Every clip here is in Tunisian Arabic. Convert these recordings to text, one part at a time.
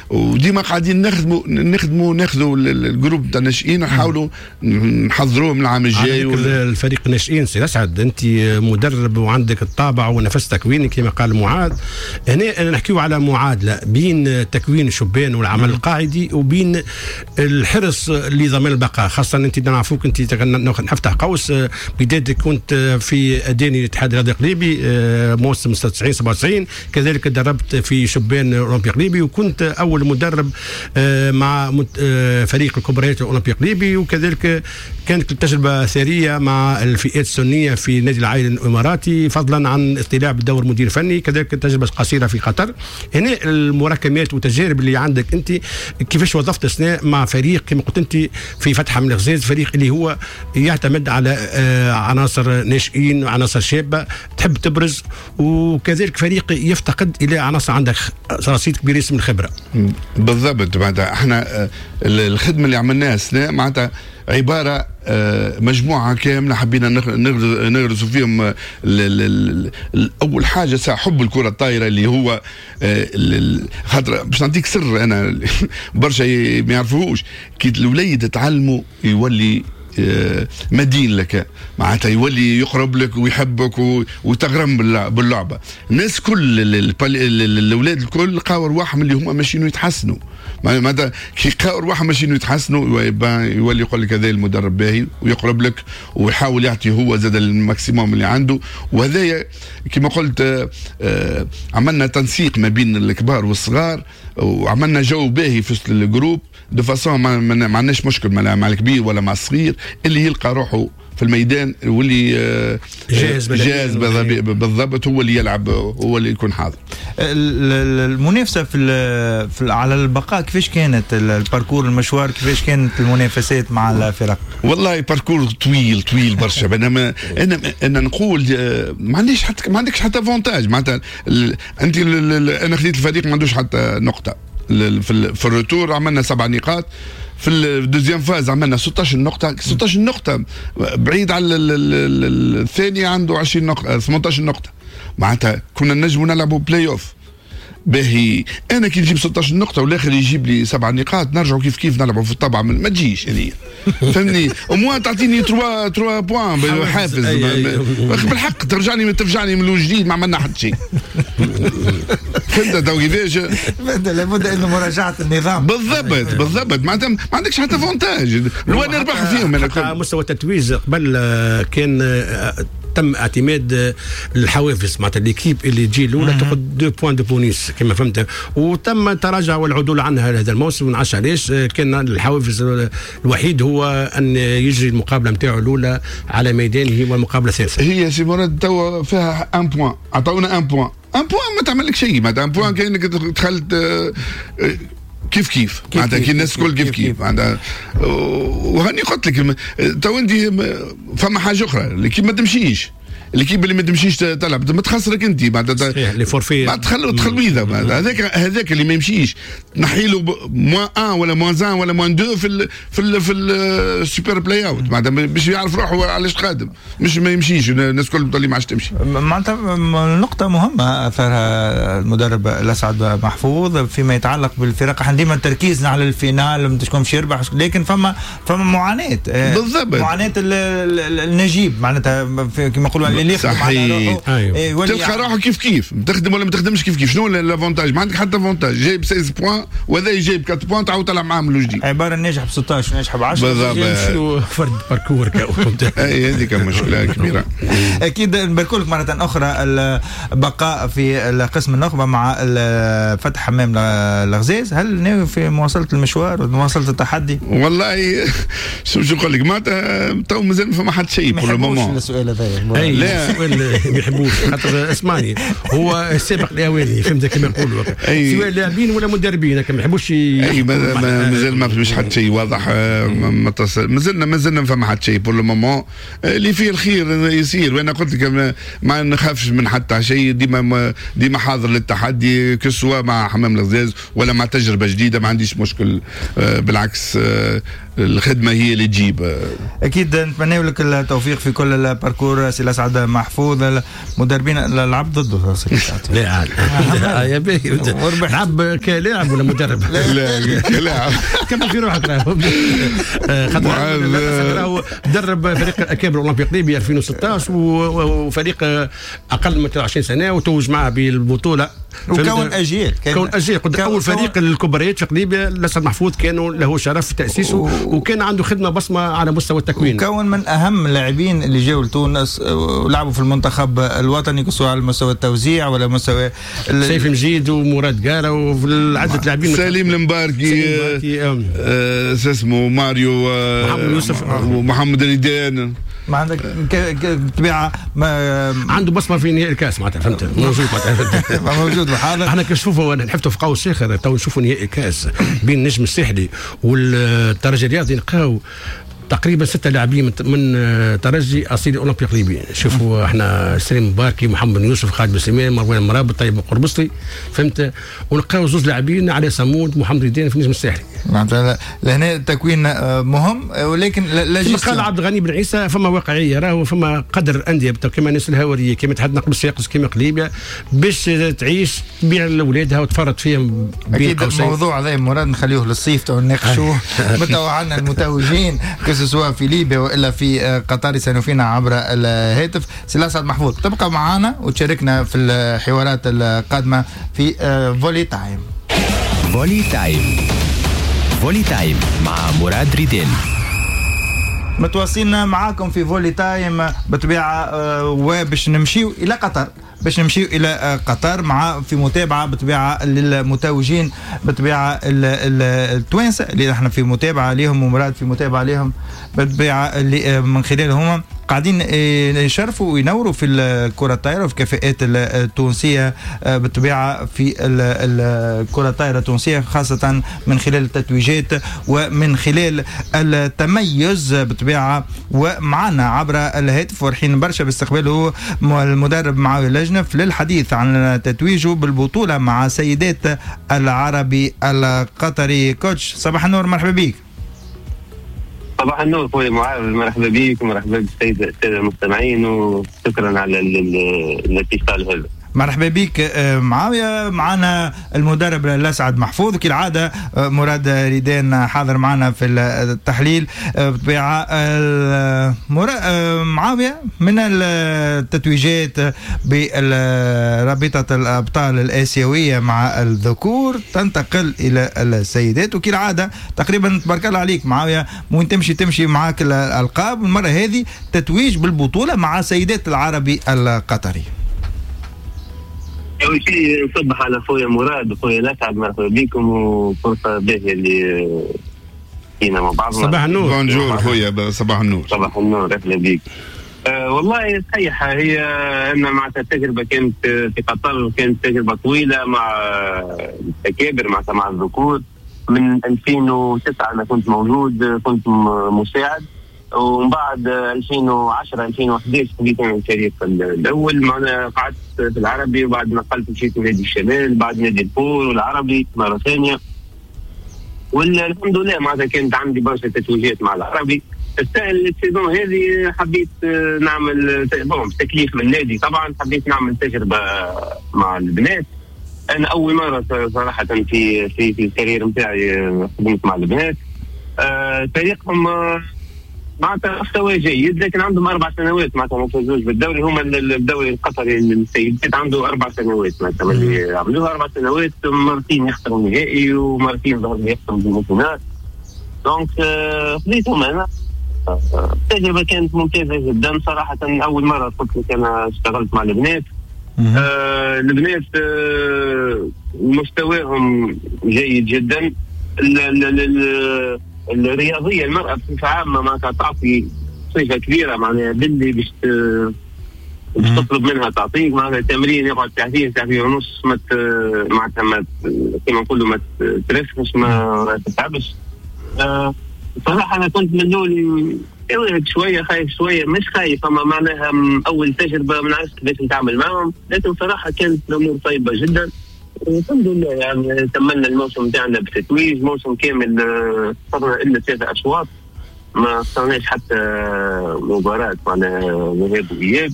وديما قاعدين نخدموا ناخذوا ال groupe تاع الناشئين، نحاولوا نحضروهم العام الجاي. الفريق الناشئين سي اسعد، انت مدرب وعندك الطابع ونفس تكويني كما قال معاذ. هنا نحكيو على معادلة بين تكوين الشبان والعمل القاعدي وبين الحرص لضمان البقاء، خاصة انت نعرفوك انت نفتح قوس بدايتك كنت في اداني الاتحاد الرياضي القليبي موسم 96 97، كذلك دربت في شبان اولمبي قليبي وكنت اول مدرب مع فريق الكبريات الاولمبي قليبي، وكذلك كانت التجربة ثرية مع الفئات السنية في نادي العين الاماراتي، فضلا عن اطلاع بدور مدير فني، كذلك تجربه قصيرة في قطر. هنا المراكمات والتجارب اللي عندك انت كيفاش وظفت السنة مع فريق كما قلت انت في فتح من الغزاز، فريق اللي هو يعتمد على عناصر ناشئين وعناصر شابه تحب تبرز، وكذلك فريق يفتقد الى عناصر عندك رصيد كبير من الخبرة. بالضبط، معناتها احنا الخدمة اللي عملناها السنة معناتها عبارة مجموعة كاملة حبينا نغرسوا فيهم. اول حاجة ساعة حب الكره الطايره اللي هو خاطر باش نعطيك سر انا برشا ما يعرفوهوش، كي الوليد تعلموا يولي مدين لك، معناتها يولي يقرب لك ويحبك وتغرم باللعبة. الناس كل الاولاد الكل لقاو رواحهم اللي هما ماشيين يتحسنوا، معناتها كي لقاو رواحهم ماشيين يتحسنوا يولي يقول لك هذا المدرب باهي ويقرب لك ويحاول يعطي هو زاد ال maximum اللي عنده. وهذايا كما قلت عملنا تنسيق ما بين الكبار والصغار وعملنا جو باهي في ال groupe de façon ما عندناش مشكل مع الكبير ولا مع الصغير، اللي يلقى روحه في الميدان واللي جاهز جاهز بالضبط هو اللي يلعب، هو اللي يكون حاضر. المنافسة في على البقاء كيفاش كانت ال parcours المشوار، كيفاش كانت المنافسات مع الفرق؟ والله parcours طويل طويل برشا. انا انا نقول ما عنديش حتى ما عندكش حتى avantage، معناتها انت انا خديت الفريق ما عندوش حتى نقطة في ال retour عملنا 7 نقاط، في ال deuxième phase عملنا 16 نقطة، 16 نقطة بعيد على الثاني عنده 20 نقطة 18 نقطة، معناتها كنا نجموا نلعبوا بلاي اوف باهي. انا كي نجيب 16 نقطة والاخر يجيب لي 7 نقاط نرجعوا كيف كيف نلعبوا في الطبعة، ما تجيش هذه فهمني، au moins تعطيني 3 points حافز بالحق، ترجعني من الجديد ما عملنا حتى شيء. فهمت تو كيفاش؟ لابد انه مراجعه النظام. بالضبط بالضبط، معناتها ما عندكش حتى avantage لو نربح فيهم. انا مستوى التتويج قبل كان تم اعتماد الحوافز، معناتها l'équipe اللي تجي الاولى تاخذ 2 points de bonus كما فهمت، وتم تراجع والعدول عنها هذا الموسم، ما نعرفش علاش. كان الحوافز الوحيد هو ان يجري المقابلة نتاعو الاولى على ميدانه والمقابلة الثالثة. هي سي مراد توا فيها 1 point، عطاونا 1 point، 1 point ما تعمل لك شيء، معناتها 1 point كانك دخلت كيف كيف معناتها كي الناس الكل كيف كيف معناتها. وهاني قلت لك تو انت فما حاجة اخرى، l'équipe ما تمشيش، l'équipe اللي ما تمشيش تلعب ما تخسرك انت معناتها les forfaits معناتها تخلويضه، هذاك اللي ما يمشيش تنحي له moins 1 ولا moins 1 ولا moins 2 في ال super play-out، معناتها باش يعرف روحه علاش قادم، مش ما يمشيش الناس الكل تولي ما عادش تمشي. معناتها نقطة مهمة اثارها المدرب الاسعد محفوظ فيما يتعلق بالفرق، احنا ديما تركيزنا على ال finale شكون باش يربح، لكن فما معاناة. بالضبط، معاناة النجيب معناتها كما نقولوا اللي يخدم على روحه. أيوه. تلقى روحه كيف كيف تخدم ولا ما تخدمش كيف كيف، شنو l'avantage؟ ما عندك حتى avantage، جايب 16 points وهذا جايب 4 points تعاود تلعب معاه من الجديد. عبارة ناجح ب 16 وناجح ب 10 بالضبط، فرد parcours. اي هذيك مشكلة كبيرة. اكيد نبارك لك مرة اخرى البقاء في قسم النخبة مع فتح حمام الغزاز. هل ناوي في مواصلة المشوار ومواصله التحدي؟ والله شو نقول لك، معناتها تو مازال ما فما حتى شيء pour le moment. السؤال هذا لا السؤال ما يحبوش خاطر اسمعني هو السابق الاولي، فهمت كما يقولوا، سواء لاعبين ولا مدربين ما يحبوش. اي مازال ما فيش حتى شيء واضح، مازلنا ما فما حتى شيء pour le moment، اللي فيه الخير يصير. وانا قلت لك ما نخافش من حتى شيء، ديما حاضر للتحدي، que ce soit مع حمام الغزاز ولا مع تجربه جديدة، ما عنديش مشكل، بالعكس. الخدمة هي اللي تجيب. اكيد نتمنى لك التوفيق في كل ال parcours سي الاسعد محفوظ. المدربين لعب ضده. لا يا باهي، لعب كلاعب ولا مدرب؟ لا كلاعب. كمل في روحك خاطر درب فريق الاكابر الاولمبي قليبيا 2016 وفريق اقل من 23 سنة وتوج معه بالبطولة وكون اجيال، كون اجيال. اول فريق الكبريات في قليبيا الاسعد محفوظ كانوا له شرف تاسيسه وكان عنده خدمة بصمة على مستوى التكوين. وكون من اهم اللاعبين اللي جاوا لتونس ولعبوا في المنتخب الوطني سواء على مستوى التوزيع ولا مستوى سيف مجيد ومراد قاره وعده لاعبين، سليم المباركي، اسمه ماريو، محمد يوسف ومحمد ريدان. ما عندك بالطبيعة عنده بصمة في نهائي الكاس معناتها، فهمت؟ موجود معناتها موجود وحاضر. احنا كنشوفوا نحطوا في قوس اخر تو نشوفوا نهائي الكاس بين النجم الساحلي والترجي الرياضي، نلقاو تقريبا 6 لاعبين من ترجي اصيل اولمبي قليبي. شوفوا احنا سليم مباركي، محمد يوسف، خالد بن سليمان، مروان مرابط، طيب قربصلي، فهمت؟ ونلقاو زوج لاعبين علي صمود، محمد ريدان في النجم الساحلي. معناتها لهنا التكوين مهم، ولكن لا قال عبد الغني بن عيسى فما واقعية، راهو فما قدر اندية كما الناس الهاوريه، كما اتحاد نقل الصفاقس، كما قليبيا، باش تعيش تبيع لاولادها وتفرط فيهم. اكيد الموضوع هذا مراد نخليه للصيف تو نناقشوه متوعنا المتوجين سواء في ليبيا والا في قطر يسالوا فينا عبر الهاتف. سي الاسعد محفوظ تبقى معنا وتشاركنا في الحوارات القادمة في Volley Time. Volley Time، Volley Time مع مراد ريدين. متواصلين معاكم في Volley Time بطبيعة، وباش نمشيو الى قطر، باش نمشيو الى قطر مع في متابعه بطبيعة للمتوجين بطبيعة التوانسة اللي احنا في متابعه ليهم، ومراد في متابعه ليهم بطبيعة اللي من خلالهم قاعدين يشرفوا وينوروا في الكره الطايره وفي الكفاءات التونسية بالطبيعة في الكره الطايره التونسية، خاصة من خلال التتويجات ومن خلال التميز بالطبيعة. ومعنا عبر الهاتف فرحين برشا باستقباله المدرب معاوية لجنف للحديث عن تتويجه بالبطولة مع سيدات العربي القطري. كوتش صباح النور، مرحبا بك. صباح النور خويا معاذ، مرحبا بك ومرحبا بالسيدة السادة المستمعين، وشكرا على الاتصال هذا. مرحبا بك معاوية. معنا المدرب الأسعد محفوظ كالعادة، مراد ريدان حاضر معنا في التحليل بطبيعة. معاوية، من التتويجات برابطة الأبطال الآسيوية مع الذكور تنتقل إلى السيدات، وكالعادة تقريبا تبارك الله عليك معاوية، وين تمشي معاك الألقاب. المرة هذه تتويج بالبطولة مع سيدات العربي القطري. أول شيء نصبح على خويا مراد وخويا الأسعد، مرحبا بكم وفرصة باهية اللي فينا مع بعضنا. صباح النور. bonjour خويا، صباح النور. صباح النور، أهلا بك. والله صحيحة هي أن معناتها التجربة كانت في قطر، كانت تجربة طويلة مع الأكابر، مع الذكور. من 2009 أنا كنت موجود، كنت مساعد، ومن بعد 2010 2011 بديت انا الفريق الاول. معنا قعدت في العربي، وبعد نقلت مشيت نادي الشمال، بعد نادي البور والعربي مرة ثانية، والحمد لله معناتها كانت عندي برشا تتويجات مع العربي. ال saison هذه حبيت نعمل bon تكليف من النادي طبعا، حبيت نعمل تجربه مع البنات. انا اول مرة صراحة في في في ال carrière نتاعي خدمت مع البنات. فريقهم معناتها مستوى جيد، لكن عندهم 4 سنوات معناتها ما فازوش بالدوري. هما الدوري القطري للسيدات عنده 4 سنوات معناتها اللي عملوها 4 سنوات، مرتين يخسروا النهائي ومرتين ظهر يخسروا ال finale. donc خذيتهم انا، التجربة كانت ممتازة جدا صراحة. اول مرة قلت لك انا اشتغلت مع البنات. البنات مستواهم جيد جدا. الرياضية المراة بصفة عامة معناتها تعطي صفة كبيرة، معناها باللي باش تطلب منها تعطيك. معناتها تمرين يقعد ساعتين ساعتين ونص، معناتها ما كيما نقولوا ما ترفش، ما تتعبش. صراحة انا كنت من الاول شوية خايف، شوية مش خايف، اما معناها اول تجربه ما نعرفش كيفاش نتعامل معهم، لكن صراحة كانت الامور طيبة جدا. الحمد لله، يعني كملنا الموسم تاعنا بتتويج، موسم كامل خسرنا الا 3 اشواط، ما خسرناش حتى مباراة معناها ذهاب واياب.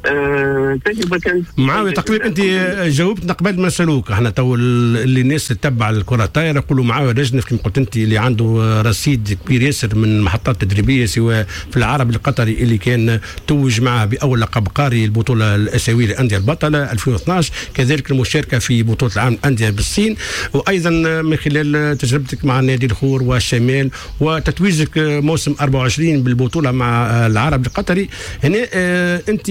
التجربة كانت معاوية تقريبا انت جاوبتنا قبل ما نسالوك احنا تو، اللي الناس تتبع الكره الطايره يقولوا معاوية لجنف كما قلت انت اللي عنده رصيد كبير ياسر من محطات تدريبية، سواء في العرب القطري اللي كان توج معه باول لقب قاري البطولة الاسيوية للاندية البطلة 2012، كذلك المشاركة في بطوله العالم الاندية بالصين، وايضا من خلال تجربتك مع نادي الخور والشمال وتتويجك موسم 24 بالبطولة مع العرب القطري. هنا انت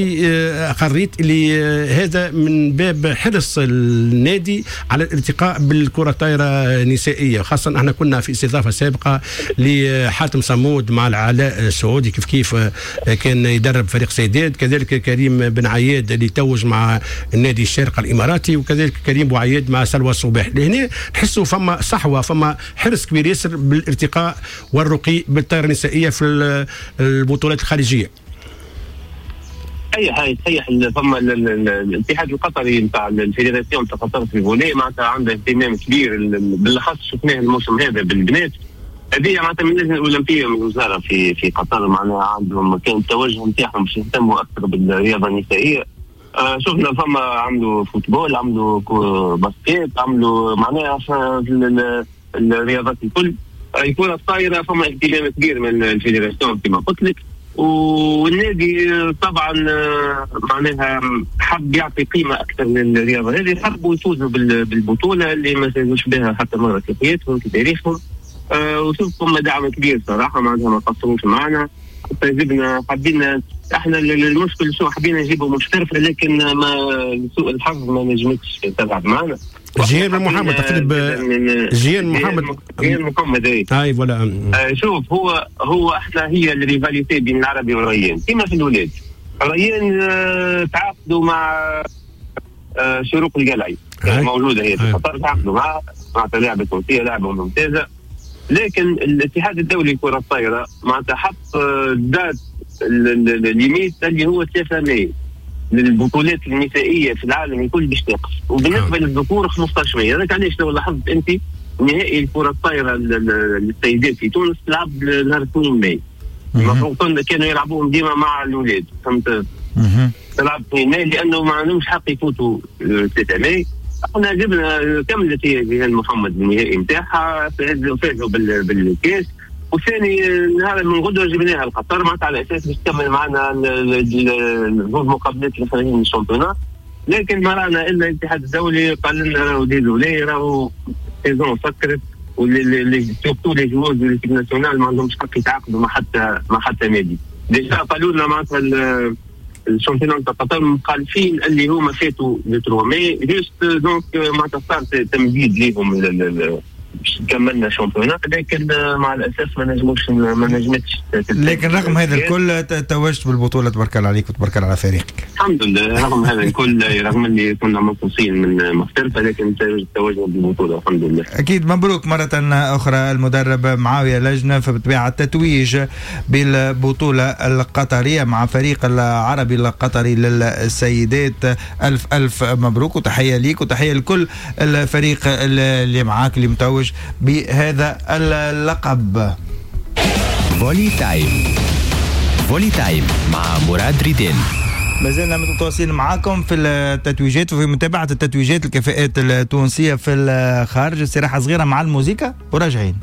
قريت اللي هذا من باب حرص النادي على الارتقاء بالكرة الطايره النسائية، خاصة احنا كنا في استضافة سابقه لحاتم صمود مع العلاء السعودي كيف كيف كان يدرب فريق سيدات، كذلك كريم بن عياد اللي توج مع النادي الشارقة الاماراتي، وكذلك كريم بوعياد مع سلوى الصباح. لهنا نحسوا فما صحوة، فما حرص كبير ياسر بالارتقاء والرقي بالطايره النسائية في البطولات الخارجية. صحيح، فما الاتحاد القطري نتاع ال fédération تاع قطر في ال volley معناتها عنده اهتمام كبير، بالاخص شفناه الموسم هذا بالبنات. هذه معناتها من اللجنة الاولمبية من الوزارة في قطر، معناها عندهم كان التوجه نتاعهم باش يهتموا اكثر بالرياضة النسائية. شفنا فما عملوا football، عملوا basket، عملوا معناها في الرياضات الكل. الكره الطايره فما اهتمام كبير من ال fédération كما قلت لك، والنادي طبعا معناها حب يعطي قيمة اكثر للرياضة هذه، حبوا يفوزوا بالبطولة اللي ما فازوش بها حتى مرة في حياتهم في تاريخهم. وشوف فما دعم كبير صراحة، معناها ما قصروش معنا، جبنا حبينا احنا المشكل شو حبينا نجيبوا محترفه، لكن ما لسوء الحظ ما نجمتش تلعب معنا. جيان محمد تقريبا، جيان محمد، جيان محمد اي voilà. شوف هو احنا هي ال rivalité بين العربي والريان كما في الولاد. الريان تعاقدوا مع شروق القلعي موجودة هي في قطر، تعاقدوا معها معناتها لاعبه تونسية، لاعبه ممتازة، لكن الاتحاد الدولي لكرة الطايره معناتها حط date limite اللي هو 3 ماي للبطولات النسائية في العالم الكل باش تقف، وبالنسبة للذكور 15 ماي. هذاك علاش لو لاحظت انت نهائي الكره الطايره للسيدات في تونس تلعب نهار 2 ماي، المفروض كانوا يلعبوهم ديما مع الاولاد، فهمت؟ تلعب 2 ماي لانه ما عندهمش حق يفوتوا 3 ماي. احنا جبنا كملت هي جيهان محمد النهائي نتاعها، فازوا بالكاس، وثاني نهار من غدوه جبناها لقطر معناتها على اساس باش تكمل معنا زوج مقابلات الاخرين من ال championnat، لكن ما رانا الا الاتحاد الدولي قال لنا راهو désolé، راهو saison سكرت، و surtout les joueurs de l'équipe nationale ما عندهمش حق يتعاقدوا مع حتى نادي. déjà قالوا لنا معناتها ال championnat تاع قطر مخالفين اللي هما فاتوا le 3 mai juste، donc معناتها صار تمديد ليهم كملنا championnat، لكن مع الاسف ما نجمتش. لكن رغم هذا الكل توجت بالبطولة، تبارك الله عليك وتبارك الله على فريقك. الحمد لله رغم هذا الكل، رغم اللي كنا منقوصين من محترفه، لكن توجنا بالبطولة الحمد لله. اكيد مبروك مرة اخرى المدرب معاوية لجنة فبالطبيعه التتويج بالبطولة القطرية مع فريق العربي القطري للسيدات. الف الف مبروك وتحية ليك وتحية لكل الفريق اللي معاك اللي متوج بهذا اللقب. Volley Time، Volley Time مع مراد ريدين. ما زلنا متواصلين معاكم في التتويجات وفي متابعة التتويجات الكفاءات التونسية في الخارج. استراحة صغيرة مع الموسيقى وراجعين.